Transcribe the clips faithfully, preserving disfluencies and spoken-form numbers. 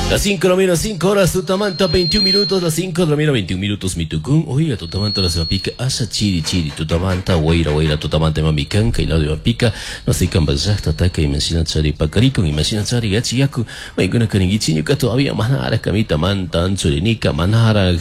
Las cinco de la mañana, cinco horas, tutamanta, veintiún minutos, las cinco de la mañana, veintiún minutos, mitucún. Oiga, tutamanta, la pica, asa chiri chiri, tutamanta, huayra, huayra, tutamanta, mamican, kailado de pica, no sé, cambazasta, taca, imagina chari, pacarico, imagina chari, gachi, yaku, maiguna karingichi, ñuka todavía manara, kamita, manta, anchurinica, manara,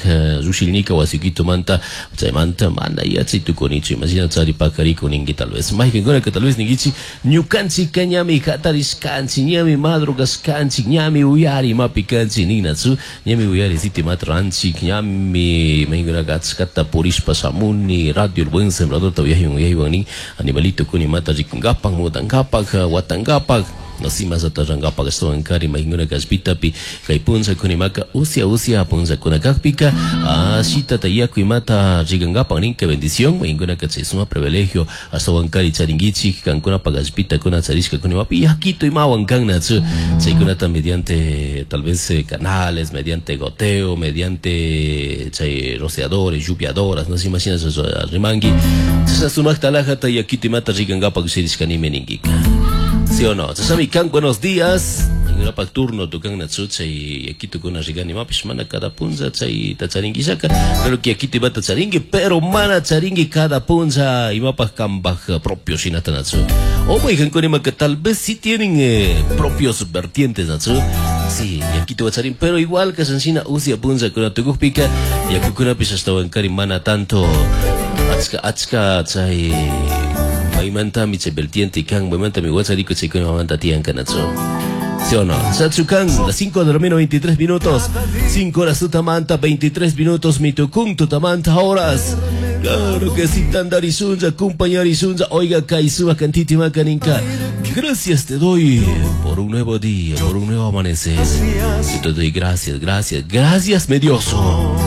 rushilnica, wasiquito, manta, chaymanta, mana, yachi, tuconicho, imagina chari, pacarico, ningui, tal vez, maiguna que tal vez ninguichi, ñukanchika ñami hatarishkanchik, ñami madrugashkanchik, ñami uyari, mapikanchik, ninatsu, ñami uyari, siti matranchik, ñami, maiguna achkata purishpa shamuni, radio El Buen Sembrador, uyaywan, uyaywan, nin, animalito kuni mata rikungapak, mudangapak, watangapak, nasimas atarrangapak ashtawankari maykuna kashpitapi kay punlla kunimaka usia usia punlla kunakakpika ashitata yaku imata rikangapak nin, que bendición maykunaka chay suma privilegio ashtawankari charinkichik kankunapak allpita kuna charishka kunimapi yakito imawan kannachu chaykunata mediante tal vez eh, canales, mediante goteo, mediante chay rociadores, lluviadoras, no se imagina rimangi chasha sumakta alajata yakito imata rikangapak shirishkanimi ninkika. ¿Sí o no? Chashami kan, buenos días. Ñukapak turno tukan natsu chay yakito kuna rigani mapish mana cada punlla chay tacharinguishaka. Pero que yakito imata charingui, pero mana charingui cada punlla imapak kambaj propio shinata natsu. O maykankunima que tal vez sí tienen eh, propios vertientes natsu. Sí, yakito wacharin, pero igual que sanshina usia punlla kuna tukukpika yakukunapish ashtawankari mana tanto achka achka chay maymantami chay vertiente kan, maymantami wachariko chaykuna mamanta tiyan kanatsu. ¿Sí o no? Sachukan, las cinco de la mañana, veintitrés minutos. cinco horas tutamanta, veintitrés minutos, mitucún tutamanta horas. Claro que sí, tandarisunza, compañarisunza, oiga, kaisuba, cantiti macaninka. Gracias te doy por un nuevo día, por un nuevo amanecer. Yo te doy gracias, gracias, gracias, medioso.